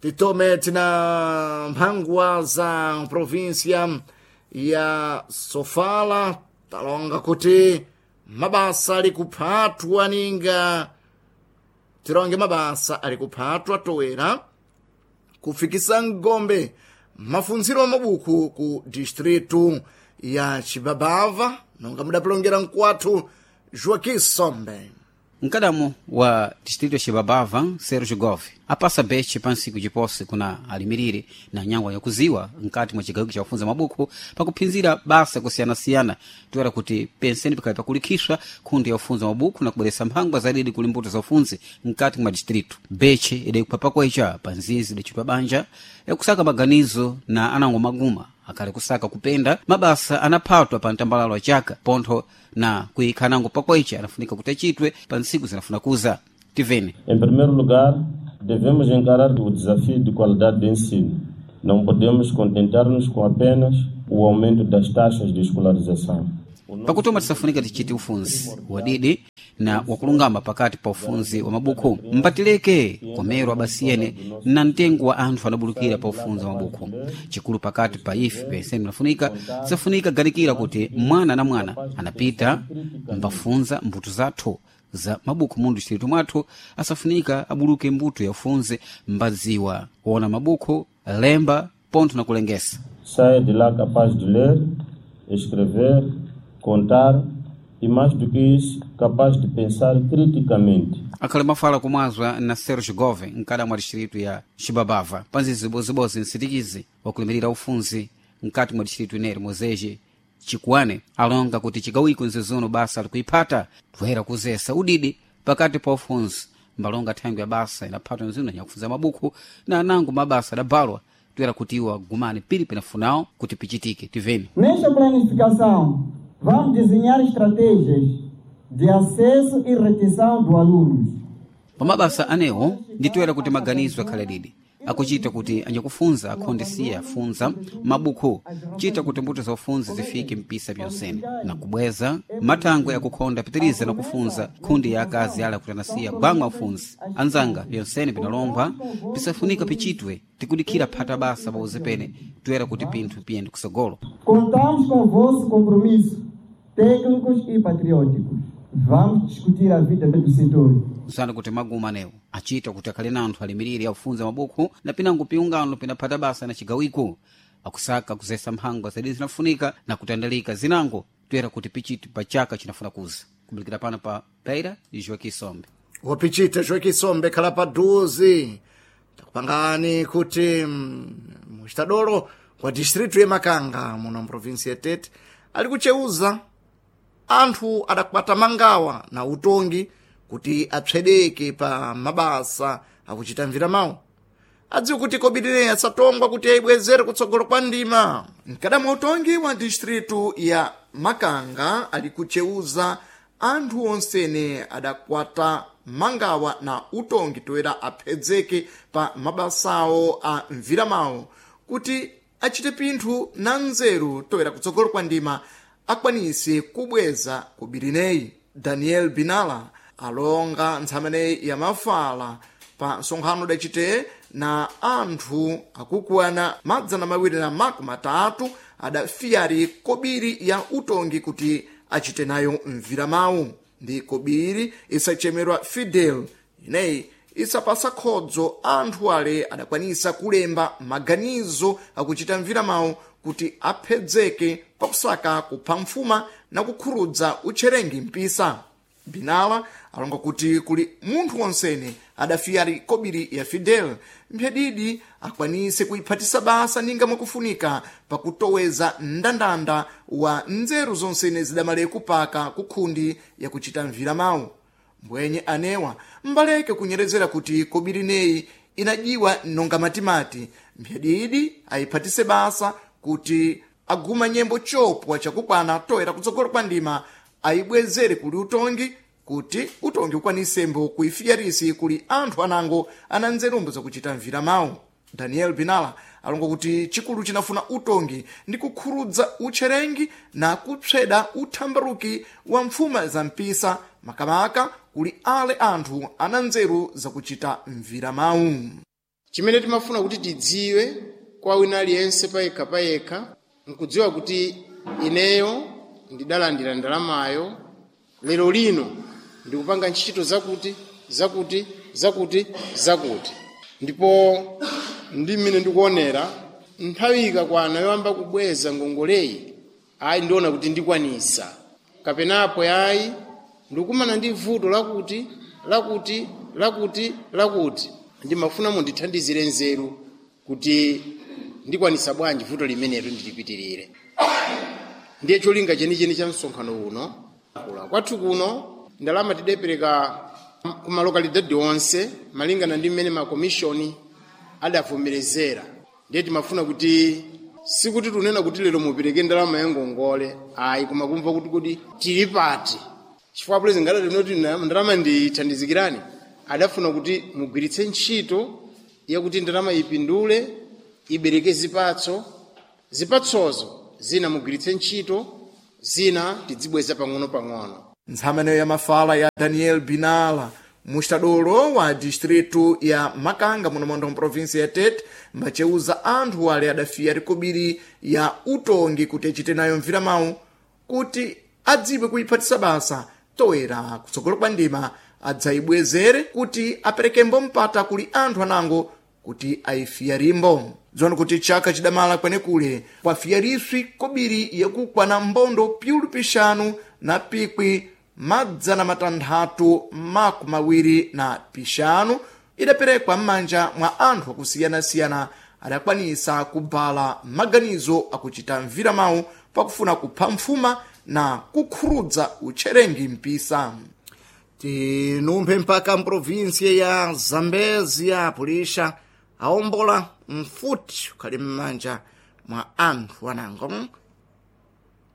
Titome tina mphangwa za provinsia ya Sofala talonga kuti mabasa ali kuphatwa ninga tilonge mabasa ali kuphatwa toera kufikisa ngombe mafunziro a mabuku ku distritu ya Chibabava nonga mudapilongera mkwathu Joaquim Sombe. Mkadamo wa distrito ya Xibabava, Sérgio Gove, apasa beche pa ntsiku ciposi kuna alimirire na nyangwa yakuziwa nkati mwa cigawiko ca kufunza mabuku pakuphinzira basa kusiyanasiyana toera kuti penseni pikali pakulikhishwa khundi ya kufunza mabuku na kubweresa mphangwa zadidi kuli mbuto za ufunzi nkati mwa distrito. Beche idayikupha pakwecha pa nzizi idacitwa banja yakusaka maganizo na anango maguma akhali kusaka kupenda mabasa anaphatwa pa mtambalalo wa chaka pontho na kuyikhanango pakwecha anafunika kuti achitwe pa ntsiku zinafuna kuza. Tivene. Em primeiro lugar, devemos encarar o desafio de qualidade de ensino. Não podemos contentar-nos com apenas o aumento das taxas de escolarização. Pakutoma tisafunika tichite ufunzi wadidi na wakulungama pakati pa ufunzi wa mabuku mpatileke komero abasiyene na mtengo wa anthu anabulukira pa ufunzi wa mabuku. Chikulu pakati pa ife penseni nafunika tisafunika ganikira kuti mwana na mwana anapita mbafunza mbuto zathu za mabuku mundu distrito mwathu asafunika abuluke mbuto ya ufunzi mbadziwa kuona mabuku lemba pontho na kulengesa. Saia de lá capaz de ler, escrever, contar e, mais do que isso, capaz de pensar criticamente. Akhali mafala kumwazwa na Sergio Gove mkada mwa distrito ya Xibabava panzizi zibozibozi nsitikizi wakulimirira ufunzi mkati mwa distrito ineri mozeje chikuane alonga kuti chigawiko nzizuno basa likuiphata toera kuzesa udidi pakati pa ufunzi mbalonga thangwi ya basa inaphatwa nzino nyakufunza mabuku na anango mabasa adabalwa toera kuti iwo agumane pili pinafunawo kuti pichitike. Tiveni. Nesta planificação, vamos desenhar estratégias de acesso e retenção do alunos. Pamabasa anewo nditoera kuti maganizo akhale didi akuchita kuti anyakufunza akhondesiya afunza mabuku chita kuti mbuto za ufunzi zifike mpisa pyonsene na kubweza mathangwe akukhonda pitiriza na kufunza khundi ya akazi ala kuti anasiya gwangwa ufunzi anzanga pyonsene pinalombwa pisafunika pichitwe tikudikhira phata basa pauze pene toera kuti pinthu piyende kusogolo. Contamos com o vosso compromisso técnicos e patrióticos. Vamos discutir a vida do setor. Usana kuti maguma anewo achita kuti akhale na anthu alimirire akufunza mabuku na pinango piungano pinaphata basa na chigawiko akusaka kuzesa mphangwa zedi zinafunika na kutandalika zinango toera kuti pichiti pa chaka chinafuna kuza. Kubulikira pano pa Beira ndi Joaquim Sombe. Wapichita Joaquim Sombe khala paduzi takupangani kuti muchitadolo wa distritu ya Makanga muno mprovinsi ya Tete ali kucheuza anthu adakwata mangawa na utongi kuti apsedeke pa mabasa akuchita mvira mawu adziwe kuti kobirineyi asatongwa kuti ayibwezere kutsogolo kwa ndima. Mkadamwa utongi wa distritu ya Makanga ali kucheuza anthu onsene adakwata mangawa na utongi toera aphedzeke pa mabasawo a mviramawo kuti achite pinthu na nzeru toera kutsogolo kwa ndima akwanise kubweza kubirineyi. Daniel Binala alonga ntsameneyi ya mafala pa nsonkhano udacite na anthu akukwana 230 adafiyari kobiri ya utongi kuti achite nayo mviramawu ndi kobiri isachemerwa Fidel ineyi isapasa khodzo anthu ale adakwanisa kulemba maganizo akuchita mviramawu kuti aphedzeke pakusaka kupha mfuma na kukhurudza utcherengi mpisa. Binala alonga kuti kuli munthu wonsene adafiyari kobiri ya Fidel mphedidi akwanise kuiphatisa basa ninga mwakufunika pakutoweza mndandanda wa nzeru zonsene zidamale kupaka kukhundi yakuchita mviramawu. Mbwenye anewa mbaleke kunyerezera kuti kobiri neyi inajiwa nonga matimati mphedidi ayiphatise basa kuti aguma nyembo chopwa chakukwana toera kutsogolo kwa ndima ayibwezere kuli utongi kuti utongi ukwanisembo kuifiyarisi kuli anthu anango ana nzerumbo zakuchita mviramawu. Daniel Binala alonga kuti chikulu chinafuna utongi ndi kukhurudza utcherengi na kupsweda uthambaruki wa mfuma za mpisa makamaka kuli ale anthu ana nzeru zakuchita mviramawu. Chimene timafuna kuti tidziwe kwa wina aliyense payekha payekha nkudziwa kuti ineyo ndidalandira ndalamayo, lero lino ndikupanga ntchito zakuti zakuti zakuti zakuti, ndipo ndi mmene ndikuonera nthawi ikakwana yoyamba kubweza ngongoleyi, ayi ndiona kuti ndikwanisa, kapenapo ayi ndikumana ndi vuto lakuti lakuti lakuti lakuti, ndimafuna mundithandizire nzeru kuti ndikwanisa bwanji vuto limenelo ndilipitirire. Ndiye cholinga chenicheni cha msonkhano uno. Kwathu kuno ndalama tidapereka kumalokalidadi onse malingana ndi mmene makomishoni adavomerezera. Ndiye timafuna kuti sikuti tunena kuti lero mupereke ndalama ya ngongole ayi, koma kumva kuti kodi tili pati, chifukwa pulezidenti ngadati ndalama ndithandizikirani, adafuna kuti mugwiritse ntchito yakuti ndalama ipindule, ibereke zipatso, zipatsozo zina mugwiritse ntchito, zina tidzibweza pang'ono-pang'ono. Ntshamaniyo ya mafala ya Daniel Binala, mustadolo wa distritu ya Makanga muno mondo mprovinsi ya Tete, mbaceuza anthu ale adafiya rikobiri ya utongi kuti achite nayo mviramawu kuti adziwe kuyiphatisa basa toera kutsogolo kwa ndima adzayibwezere kuti aperekembo mpata kuli anthu anango kuti ayifiya rimbo. Dziwani kuti chaka chidamala kwenekule kwafiyariswi kobiri yakukwana mbondo piulu pixanu na pikwi 625 idaperekwa m'manja mwa anthu akusiyana-siyana adakwanisa kubala maganizo akuchita mviramawu pakufuna kupha mfuma na kukhurudza utcherengi mpisa. Tinumphe mpaka mprovinsia ya Zambezia, pulisha aombola mfuti ukhali m'manja mwa anthu anango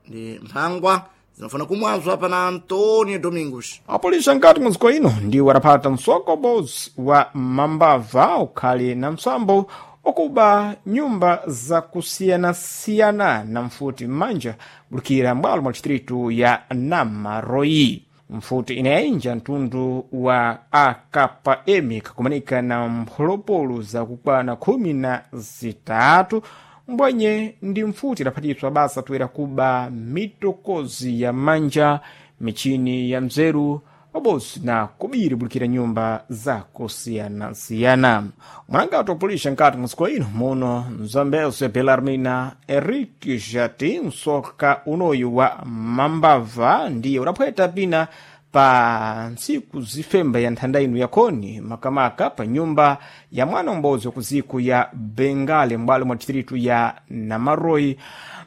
ndi mphangwa zinafuna kumwazwa pana Antonio Domingos. Apolisa nkati muziko ino ndiwo adaphata msokobozi wa mambava ukhali na msambo okuba nyumba zakusiyanasiyana na mfuti m'manja kulikira m'bwalo mwa distritu ya Namaroi. Mfuti inayinja mtundu wa AKM kakumanika na mpholopolo zakukwana 13 mbwenye ndi mfuti idaphatiswa basa toera kuba mitokozi ya manja, michini ya mzeru pabozi na kubiri bulikira nyumba zakusiyanasiyana. Mwanangati wapulisha nkati musiko ino muno mzambezo Belarmina Henrique Jati msoka unoyu wa mambava ndiye udaphweta pina pa ntsiku zifemba ya nthanda ino yakhoni makamaka pa nyumba ya mwana umodzi wa kuziko ya Bengale m'bwalo mwa distritu ya Namaroi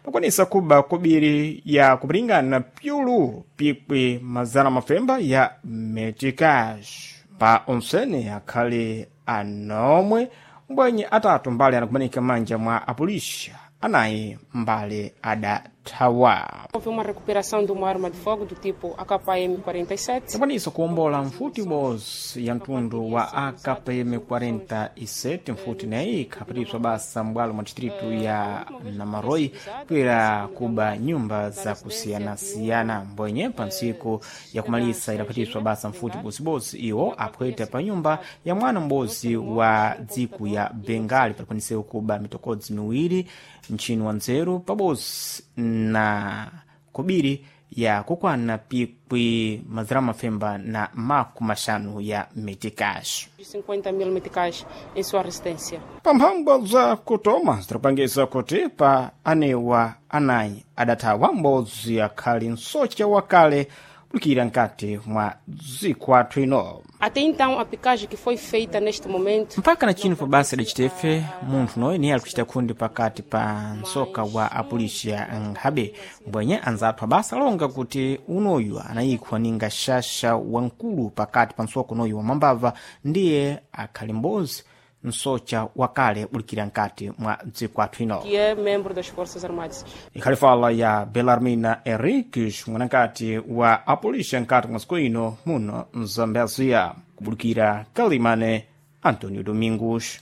pakwanisa kuba kobiri ya kupilingana pyulu pikwi mazana mafemba ya metikash pa onsene akhale anomwe mbwenye atatu mbale anakumanika manja mwa apulisha anayi mbale adathawa. Houve uma recuperação de uma arma de fogo do tipo AKM-47. Takwanisa kuwombola mfuti bozi ya mtundu wa AKM-47 mfuti nayi ikhaphatiswa basa m'bwalo mwa distritu ya Namaroi kwera kuba nyumba zakusiyanasiyana mbwenye pa ntsiku yakumalisa idaphatiswa basa mfuti bozibozi iwo aphweta pa nyumba ya mwana m'bozi wa dziko ya Bengali palikwanisewo kuba mitokodzi miwiri mchini wa nzeru pabozi na kobiri ya kukwana pikwi mazana mafemba na maku maxanu ya metikash. 50 mil meticais em sua residência. Pamphambwa za kutoma zidapangisa kuti pa anewa anayi adathawa m'bodzi akhali msocha wakale kulikira nkati mwa dziko athu ino. Até então, a picagem que foi feita neste momento mpaka na chino pabasa idacitefe munthu noyo niye ali kuchita khundi pakati pa msoka wa apulisha nkhabe mbwenye anzathu abasa alonga kuti unoyu anayikhwa ninga xaxa wamkulu pakati pa msoka unoyu wa mambava ndiye akhali m'bodzi msocha wakale bulikira nkati mwa dziko athu ino. que é membro das Forças Armadas. Ikhali fala ya Belarmina Henriques, mwanakati wa apulisha nkati mwa siku ino muno mzambezia kubulikira Kalimane Antonio Domingos.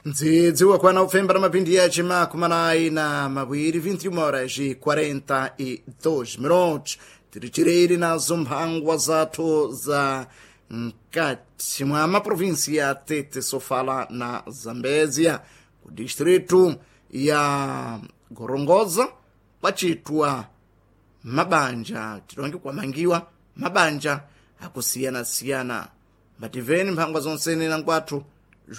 Ndzidzi wakwana upfemba na mapindi yace makumi anayi na mawiri 21 horas e 42 minutos. Tiri chireri nazo mphangwa zathu za mkati mwa maprovinsi ya Tete, Sofala na Zambezia. Ku distritu ya Gorongoza kwacitwa mabanja tilonge kwamangiwa mabanja akusiyana-siyana. Mbativeni mphangwa zonsene na nkwathu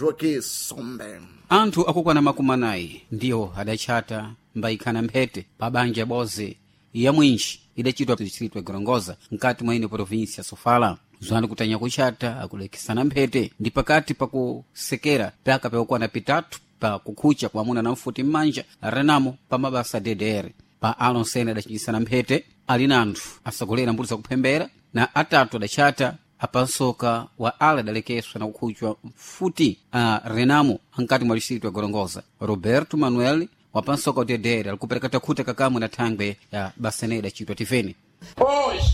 Joaquim Sombe. Anthu akukwana makumi anayi ndiwo adatchata mbayikhana mphete pa banja boze ya mwinji idacitwa distritu ya Gorongosa mkati mwa ine provinsi ya Sofala. Zwani kutanya kuchata akulekesana mphete ndi pakati pakusekera pyaka pyakukwana pitatu pa kukhucha kwa amuna na mfuti m'manja renamo pa mabasa DDR. Pa alonsene adachinjisana mphete ali na anthu asagolera mbuto zakuphembera na atatu adatchata apansoka wa ala adalekeswa na kukhuchwa mfuti a renamo ankati mwa distritu ya Gorongosa. Roberto Manuel wapansoka wa DDR alikupereka takhuta kakamwe na thangwe ya basene idacitwa tiveni. Hoje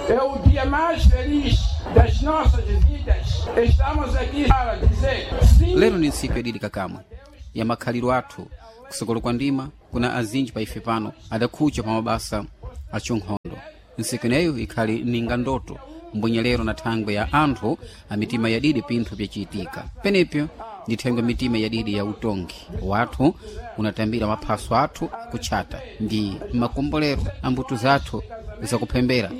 é o dia mais feliz das nossas vidas. Estamos aqui para dizer sim. Lero ni ntsiku yadidi kakamwe ya makhaliro athu kusokolo kwa ndima kuna azinji pa ife pano adakhucha pa mabasa achonkhondo. Ntsiku ineyo ikhali ninga ndoto mbwenyelero na thangwe ya anthu a mitima yadidi pinthu pyacitika penepyo ndi thangwe mitima yadidi ya utongi wathu unatambira maphaso athu akutchata ndi makombolero a mbuto zathu zakuphembera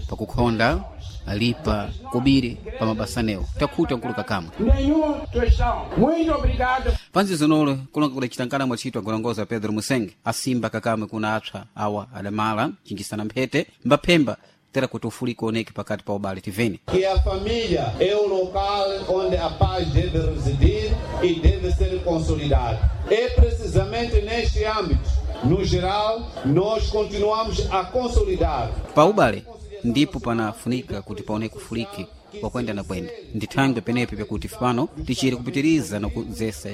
pakukhonda alipa kobiri pa mabasanewo takhuta nkulu kakamwe. Nenhum tostão. Muito obrigado. Panzi zinolo kulonga kudacitankana mwacitwa Gorongosa Pedro Musenge asimba kakamwe kuna apsa awa adamala chinjisana mphete mbaphemba tera kuti ufuliko oneke pakati pa ubale tiveni. Que a família é o local onde a paz deve residir e deve ser consolidada. É precisamente neste âmbito, no geral, nós continuamos a consolidar. Pa ubale ndipo panafunika kuti paoneke ufuliki wakwenda na kwenda ndi thangwe penepe pakuti pano tichiri kupitiriza na kudzesa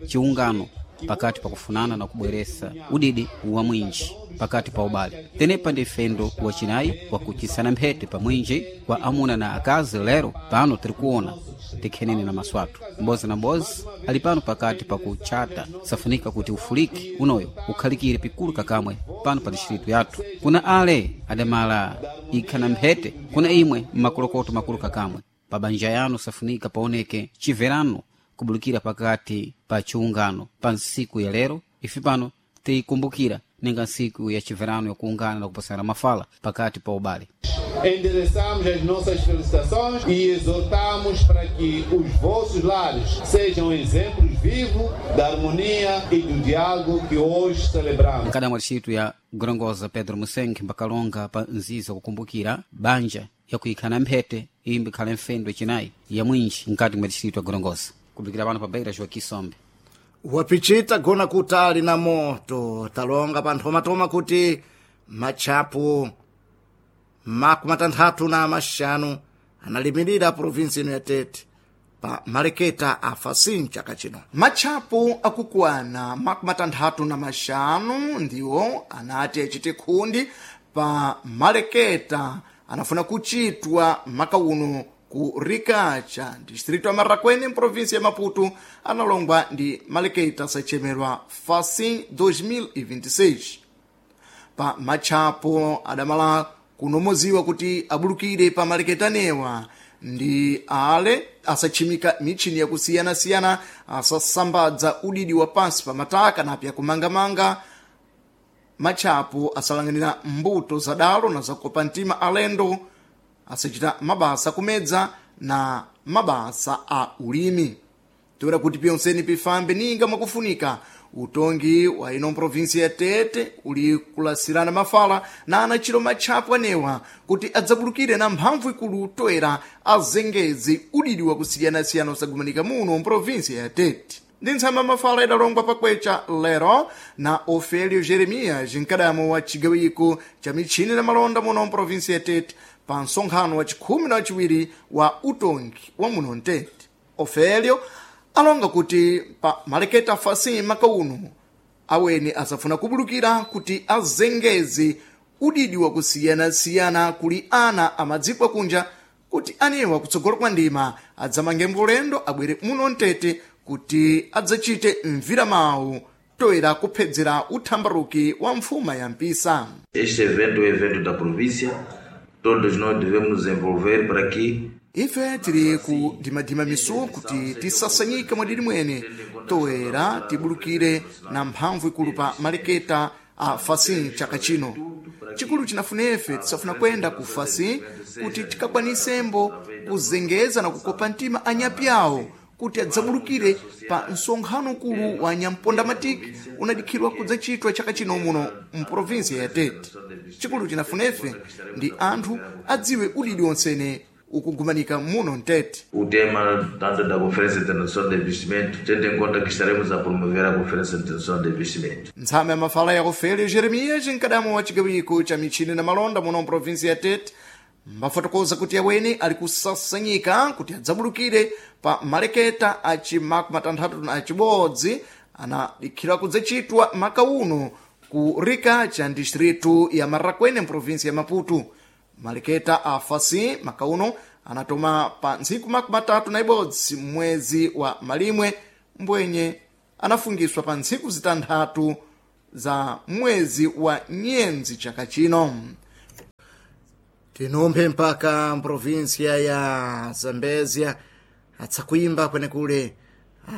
chiungano pakati pakufunana na kubweresa udidi wa mwinji pakati pa ubale. Tenepa ndi fendo wacinayi wakuchisana mphete pa mwinji kwa amuna na akazi. Lero pano tirikuona tikhenene na maso athu mbozi na mbozi ali pano pakati pakutchata. Safunika kuti ufuliki unoyo ukhalikire pikulu kakamwe pano pa distritu yathu. Kuna ale adamala ikhana mphete kuna imwe mmakolokoto makulu kakamwe pa banja yanu safunika paoneke chiverano kubulukira pakati pa chiungano pa nsiku ya lero. Ife pano tikumbukira ninga nsiku ya chiverano yakuungana na kupasana mafala pakati pa ubale. Endereçamos as nossas felicitações e exortamos para que os vossos lares sejam exemplos vivos da harmonia e do diálogo que hoje celebramos. Mkada mwa distritu ya Gorongosa Pedro Musenge mbakalonga pa nziza kukumbukira banja yakuikhana mphete imbi ikhale mfendo yacinayi ya mwinji mkati mwa distritu ya Gorongosa. Kubikira pano pa Beira Joaquim Sombe. Wapichita gona kutali na moto talonga panthomatoma kuti matchapu 65 analimirira provinsi ino ya Tete pa maleketa a Facim chaka chino. Matchapu akukwana 65 ndiwo anati achite khundi pa maleketa anafuna kuchitwa maka uno ku Ricacha, distrito ya Marraquene, província ya Maputo, analongwa ndi maleketa sachemerwa Facim 2026. Pa matchapo adamala kunomoziwa kuti abulukire pa maleketanewa ndi ale asachimika michini yakusiyanasiyana, asasambadza udidi wa pansi pa mataka napya kumangamanga. Matchapo asalang'anira mbuto zadalo na zakopa mtima alendo, asachita mabasa kumedza na mabasa a ulimi. Toera kuti pyonseni pifambe ninga mwakufunika utongi wa ino provinsi ya Tete uli kulasirana mafala na anachiro matchapo anewa kuti adzabulukire na mphamvu ikulu toera azengezi udidi wakusiyanasiyana osagumanika muno mprovinsi ya Tete. Ndi ntsamba mafala idalongwa pakwecha lero na Ofelio Jeremias, mkadamo wa chigawiko cha michini na malonda muno mprovinsi ya Tete, pa msonkhano wa chikhumi na wachiwiri wa utongi wa muno mtete. Ofelio alonga kuti pa maleketa Facim maka uno aweni asafuna kubulukira kuti azengeze udidi wakusiyanasiyana kuli ana amadziko akunja kuti anewa kutsogolo kwa ndima adzamange mbulendo abwere muno mtete kuti adzachite mviramawu toera kuphedzera uthambaruki wa mfuma ya mpisa. Este evento é o evento da província, todos nós devemos nos envolver para que Ife tili kudimadima misuwo kuti tisasanyike mwadidi mwene, toera tibulukire na mphamvu ikulu pa maleketa a fasin chaka chino. Chikulu chinafunefe tisafuna kwenda ku fasin kuti tikakwanisembo kuzengeza na kukopa mtima anyapi awo kuti adzabulukire pa msonkhano ukulu wa nyampondamatiki unadikhidwa kudzachitwa chaka chino muno mprovinsi ya Tete. Chikulu chinafunefe ndi anthu adziwe udidi wonsene ukugumanika muno mtete. O tema tanto da Conferência Internacional de Investimento, tendo em conta que estaremos a promover a Conferência Internacional de Investimento. Ntsame ya mafala ya Ofelio Jeremias, mkadamo wa chigawiko cha michini na malonda muno mprovinsi ya Tete, mbafotokoza kuti aweni ali kusasanyika kuti adzabulukire pa maleketa aci 61 anadikhira kudzachitwa maka uno ku rika cha distritu ya Marraquene mprovinsi ya Maputo. Maleketa a fasi maka uno anatoma pa ntsiku 31 mwezi wa malimwe, mbwenye anafungiswa pa ntsiku zitanthatu za mwezi wa nyenzi chaka chino. Tinumphe mpaka mprovinsia ya Zambezia atsakuimba kwenekule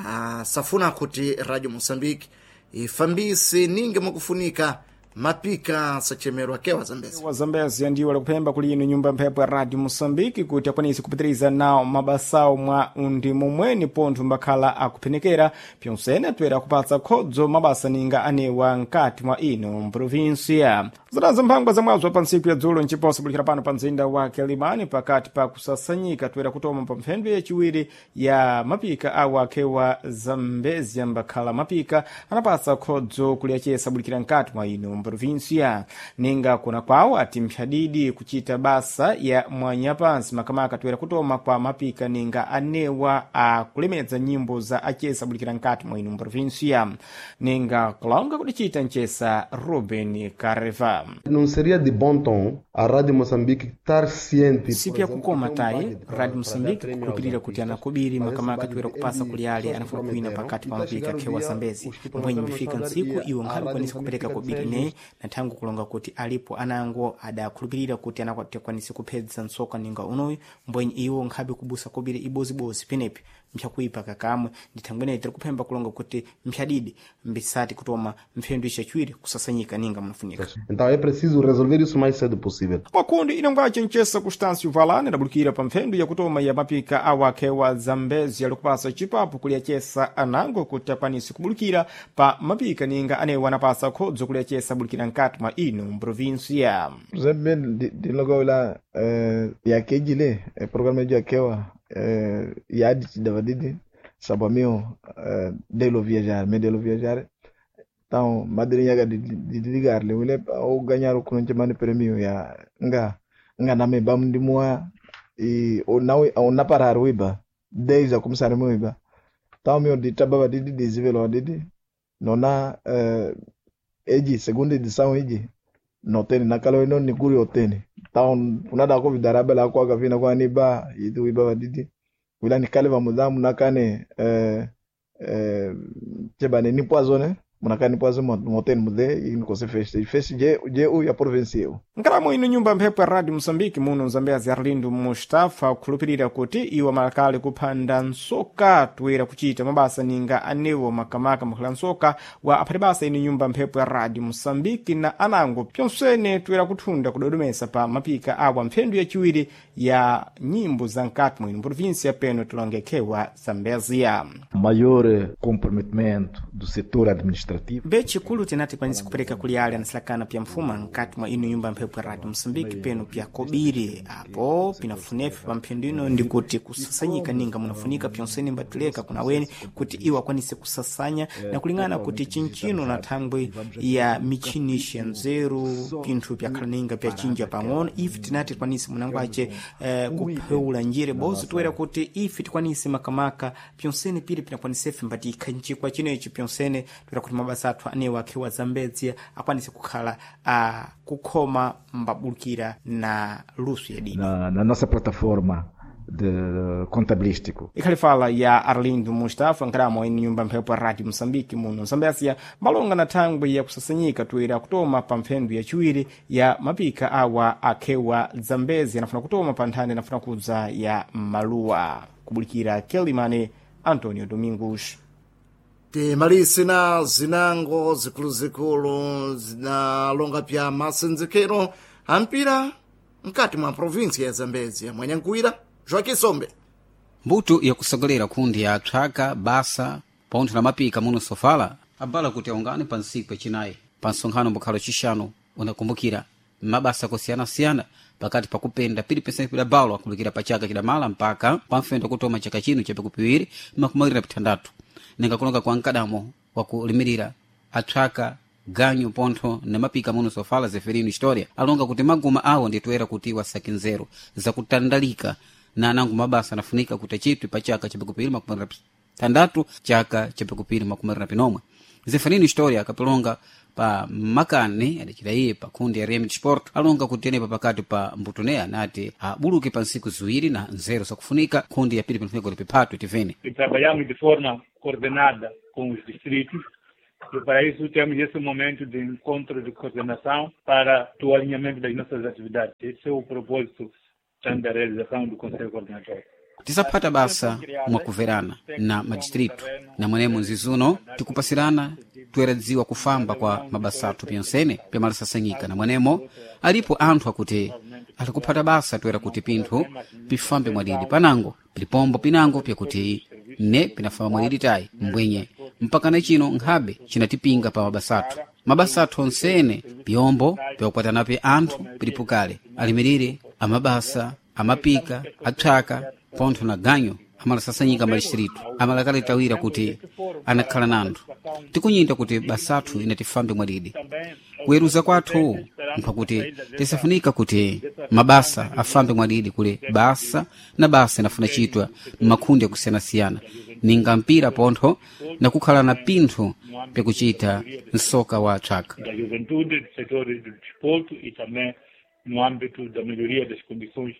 asafuna kuti Radio Mosambiki ifambise ninge mwakufunika mapika sachemerwa kewa Zambezia. Wa Zambezia ndiwo alikupemba kuli ino nyumba mphepo ya Radio Mosambiki kuti akwanise kupitiriza nawo mabasawo mwa undi momweni pontho mbakhala akuphenekera pyonsene atoera akupatsa khodzo mabasa ninga anewa nkati mwa ino mprovinsia. Zadazo mphangwa zamwazo pa ntsiku ya dzulo nchiposa bulikira pano pa mzinda wa Quelimane pakati pa kusasanyika toera kutoma pa mphendwe yachiwiri ya mapika awo akhewa Zambezia mbakhala mapika anapatsa khodzo kuliyachesa bulikira nkati mwa ino mprovinsia. Ninga kuna kwawo ati mphyadidi kuchita basa ya mwanyapansi makamaka toera kutoma kwa mapika ninga anewa akulemedza nyimbo za achesa bulikira nkati mwa ino mprovinsia. Ninga kulonga kudichita nchesa Ruben Careva. Não seria de bom tom a Rádio Moçambique estar ciente. Sipi yakukoma tayi Radio Moçambique kukhulupirira kuti anakubiri makamaka toera kupasa kuli ale anafuna kuwina pakati pa mapika akhewa Zambezi mbwenye mbifika ntsiku iwo nkhabe kwanisa kupereka kobiri ne na thangu kulonga kuti alipo anango adakhulupirira kuti anakwanisa kuphedza ntsoka ninga unoyu mbwenye iwo nkhabe kubusa kobiri ibozibozi penepi mpyakuipa kakamwe ndithangweneyi tiri kuphemba kulonga kuti mphyadidi mbisati kutoma mphendu ichachiwiri kusasanyika ninga munafunika. Então é preciso resolver isso o mais cedo possível. Pakundi inongwace nchesa Constâncio Valane adabulukira pa mphendu yakutoma ya mapika awakhewa Zambezi alikupasa chipapo kuliyachesa anango kuti akwanise kubulukira pa mapika ninga anewo anapasa khodzo kuliyachesa bulukira nkati mwa ino mprovinsia. Presentemente dinlogo la yakejile programa yakewa yadi davadidi sabamio delo viajar me delo viajar. Então madrinha de ligar le wile ou ganhar o kunche mani premio ya nga nga na me bam di moa e ou não ou na parar uiba desde a começar mo iba. Então meu de tababa de de zivelo de nona eji segunda edição eji no teni na kalo ino ni guri oteni. Então unada ko vidaraba la kwa gavina kwa niba yidu iba didi wila ni kale va mudamu nakane chebane ni poisonné munakani poison moteni mude inikose feste feste je je u ya province eu. Nkalamo ino nyumba mphepo ya Radio Moçambique muno Zambezi Arlindo Mustafa kukhulupirira kuti iwo malakale kuphanda nsoka toera kuchita mabasa ninga anewo makamaka makhala nsoka wa aphati basa ino nyumba mphepo ya Radio Moçambique na anango pyonsene toera kuthunda kudodomesa pa mapika awa mphendu yachiwiri ya nyimbo za nkati mwino provinsia peno tilongekhewa Zambezia. Maior comprometimento do setor administrativo. Bechikulu tinati kwanisa kupereka kuli ale anasilakana pya mfuma nkati mwa ino nyumba mphepo ya Radio Mosambiki peno pya kobiri apo pinafunefe pa mphindu ino ndikuti kusasanyika ninga munafunika pyonsene mbatuleka kuna weni kuti iwo akwanise kusasanya na kulingana kuti chinchino na thangwi ya michini nzeru pinthu pyakhala ninga pyachinja pang'ono ife tinati tikwanise munango ace kupheula njire bozo toera kuti ife tikwanise makamaka pyonsene pili pinakwanisefe mbati ikhanjikwa chinechi pyonsene toera kuti mabasa athu anewo akhewa Zambezia akwanise kukhala kukhoma mbabulukira na luso ya dini. Na nossa plataforma de contabilístico. Ikhali fala ya Arlindo Mustafa nkhalamu eni nyumba mphepo ya Radio Moçambique muno Zambésia malonga na thangwi yakusasanyika toera kutoma pa mphendu yaciwiri ya mapika awa akhewa Zambezi anafuna kutoma pa nthani anafuna kudza ya maluwa kubulikira Kelimane Antonio Domingos. Timalisi na zinango zikuluzikulu zinalonga pya masenzekero ampira mkati mwa provinsi ya Zambezia. Mwanyankuira Joaquim Sombe. Mbuto yakusogolera kundi ya thyaka basa pontho na mapika muno sofala abala kuti aungane pa ntsiku yacinayi pa nsonkhano mbukhalo cixanu unakumbukira mabasa akusiyanasiyana pakati pakupenda pili pidabalo akulikira pa chaka chidamala mpaka pamfendo kutoma chaka chino cha pikupiwiri makumi awiri na pithandatu ninga kulonga kwa mkadamo wakulimirira athyaka ganyu pontho na mapika muno sofala Zeferino Historia alonga kuti maguma awo nditoera kuti wasake nzeru zakutandalika na anango mabasa anafunika kuti achitwe pa chaka cha pikupiri makumi thandatu chaka cha pikupiri makumi awiri na pinomwe. Zeferino Historia akapilonga pa makani adacita iye pa kundi ya RM Sport alonga kuti enepa pakati pa mbutoneya nati abuluke pa ntsiku ziwiri na nzeru zakufunika kundi ya pili pinafunika kuti piphatwe tivene. E trabalhamos de forma coordenada com os distritos e para isso temos esse momento de encontro de coordenação para o alinhamento das nossas atividades. Esse é o propósito da realização do Conselho Coordenador. Tisaphata basa mwakuverana na madistritu na mwenemo nzizuno tikupasirana toeradziwa kufamba kwa mabasa athu pyonsene pyamalasasanyika na mwenemo alipo anthu akuti atikuphata basa toera kuti pinthu pifambe mwadidi panango pilipombo pinango pyakuti ne pinafamba mwadidi tayi mbwenye mpaka na chino nkhabe cinatipinga pa mabasa athu mabasa athu onsene pyombo pyakukwatanape anthu pilipukale alimirire amabasa amapika athyaka pontho na ganyo amalasasanyika madistritu amalakalitawira kuti anakhala nanthu tikunyinda kuti basathu inatifambe mwadidi kuweruza kwathu mphakuti tisafunika kuti mabasa afambe mwadidi kule basa na basa inafuna chitwa m'makhundi akusiyanasiyana ninga mpira pontho na kukhala na pinthu pyakuchita msoka wa thyaka. Da juventude, do setor do desporto e também no âmbito da melhoria das condições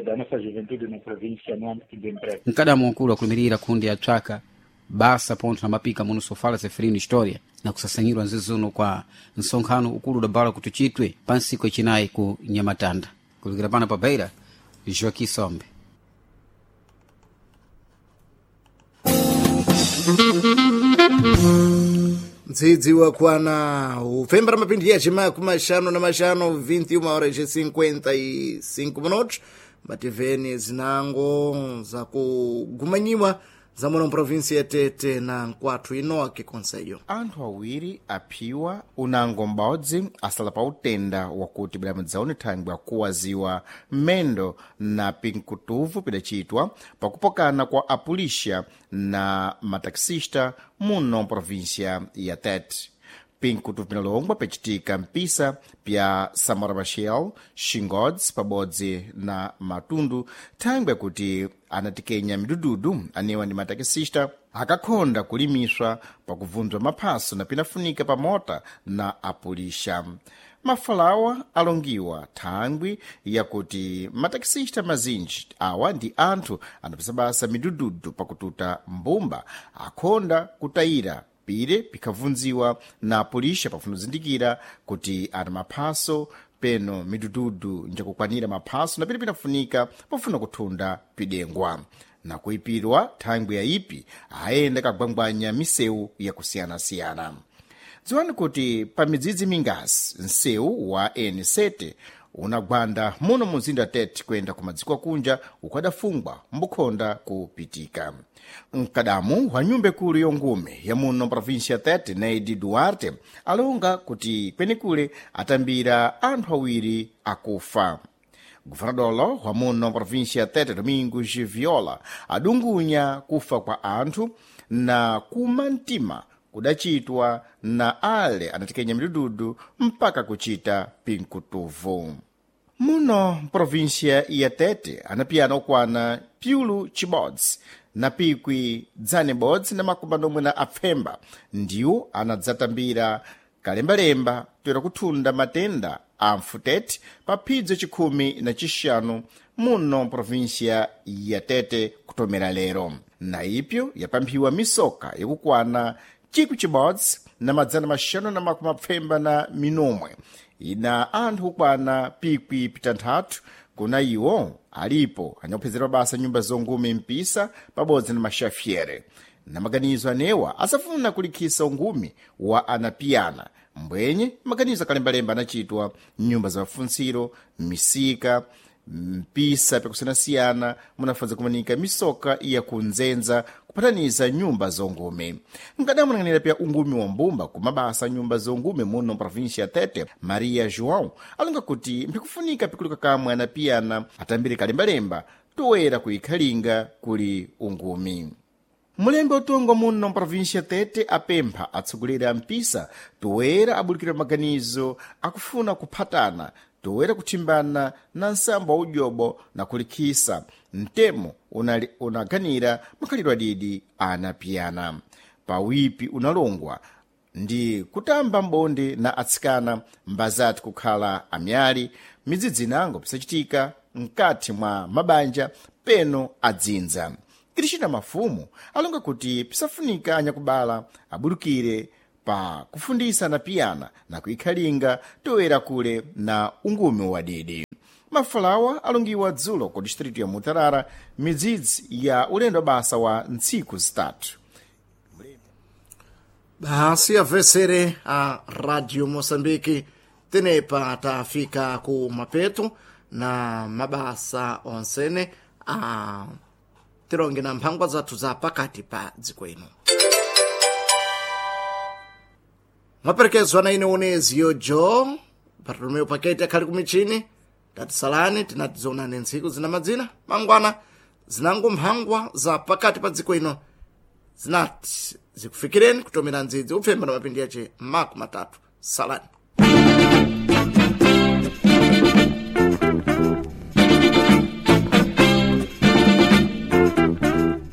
da nossa juventude na província no âmbito do emprego. Mkadamo ukulu akulumirira kundi ya thyaka basa pontho na mapika muno sofala Zeferino Historia na kusasanyirwa nzizuno kwa nsonkhano ukulu udabala kuti uchitwe pa ntsiku yacinayi ku Nyamatanda. Kulikira pano pa Beira, Joaquim Sombe. Mdzidzi wakwana upfembera mapindi yachima kumashanu na mashanu 21 horas e 55 minutos mativeni zinango zakugumanyiwa za muno provinsi ya Tete na nkwathu inoke konseyo. Anthu awiri aphiwa unango m'bodzi asala pa utenda wakuti bwidamudzaone thangwi akuwaziwa m'mendo na pinkutuvu pidacitwa pakupokana kwa apulixa na mataxista muno província ya Tete. Pinkutuvu pinalongwa piacitika mpisa pya Samora Machel, Xingodzi pabodzi na Matundu thangwi kuti anatikenya midududu anewa ndi matakisista akakhonda kulimiswa pakuvunzwa maphaso na pinafunika pamota na apulixa. Mafalawa alongiwa thangwi yakuti matakisista mazinji awa ndi anthu anapesa basa midududu pakututa mbumba akhonda kutayira pire pikhavunziwa na apulixa pafuna kuzindikira kuti ana maphaso peno midududu njakukwanira maphaso na pire pinafunika pofuna kuthunda pidengwa na kuipirwa thangwi ya ipi ayenda kagwangwanya misewu yakusiyanasiyana. Dziwani kuti pa midzidzi mingasi msewu wa N7 unagwanda muno muzinda Tete kuyenda ku madziko akunja ukadafungwa mbukhonda kupitika. Mkadamu wa nyumba ikulu yongume ya muno província Tete, Neide Duarte, alonga kuti kwenekule atambira anthu awiri akufa. Guvernadolo wa muno província Tete, Domingos Viola, adungunya kufa kwa anthu na kuma mtima kudacitwa na ale anatikenya midududu mpaka kucita pinkutuvu. Muno província ya Tete anapiyana okwana pyulu chibodzi na pikwi dzane bodzi na makumi anomwe na apfemba ndiwo anadzatambira kalembalemba toera kuthunda matenda a mfutete pa phidzo chikhumi na chixanu muno província ya Tete kutomera lero. Na ipyo yapamphiwa misoka yakukwana 1574 ina anthu kukwana 6,000 kuna iwo alipo anyakuphezera mabasa nyumba zongume mpisa pabodzi na maxafiere. Na maganizo anewa asafuna kulikhisa ungumi wa anapiyana mbwenye maganizo akalembalemba anachitwa nyumba za mafuntsiro, misika, mpisa pyakusiyanasiyana munafanza kumanika misoka yakunzenza kupataniza nyumba zongume. Mkadamunang'anira pya ungumi wa mbumba kumabasa nyumba zongume muno província ya Tete, Maria João alonga kuti mpikufunika pikuluka kamwe anapiyana atambire kalembalemba toera kuikhalinga kuli ungumi. Mulembe utongo muno mprovíncia Tete apempha atsogoleri a mpisa toera abulikira maganizo akufuna kuphatana toera kuthimbana na nsambo wa udyobo na kulikhisa mtemo unaganira makhalidwe adidi anapiyana. Pawipi unalongwa ndi kutamba mbonde na atsikana mbazati kukhala amyali midzidzi inango pisachitika mkati mwa mabanja peno adzinza. Krishina Mafumu alonga kuti pisafunika anyakubala abulukire pa kufundisa anapiyana na kuikhalinga toera kule na ungumi wadidi. Mafalawa alongiwa dzulo ku distritu ya Mutarara midzidzi ya ulendo basa wa ntsiku zitatu. Basi avesere a Radio Moçambique tenepa tafika ku mapeto na mabasa onsene a tilonge na mphangwa zathu za pakati pa dziko ino. Maperekezwa na ine oneziyo jo Bartolomeu Paketi akhali kumichini. Tatisalani tinatizonane ntsiku zina madzina mangwana zinango mphangwa za pakati pa dziko ino zinati zikufikireni kutomera ndzidzi upfemba na mapindi yace 30. Salani.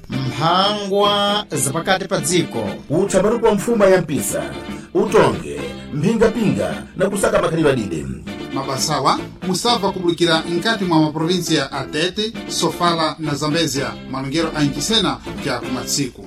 Mphangwa zapakati pa dziko. Utsambaruko wa mfuma ya mpisa, utonge, mphingapinga na kusaka makhalidwe adide. Mabasawa musabva kubulikira nkati mwa maprovinsia a Tete, Sofala na Zambezia, malongero a Inchisena pya kumatsiku.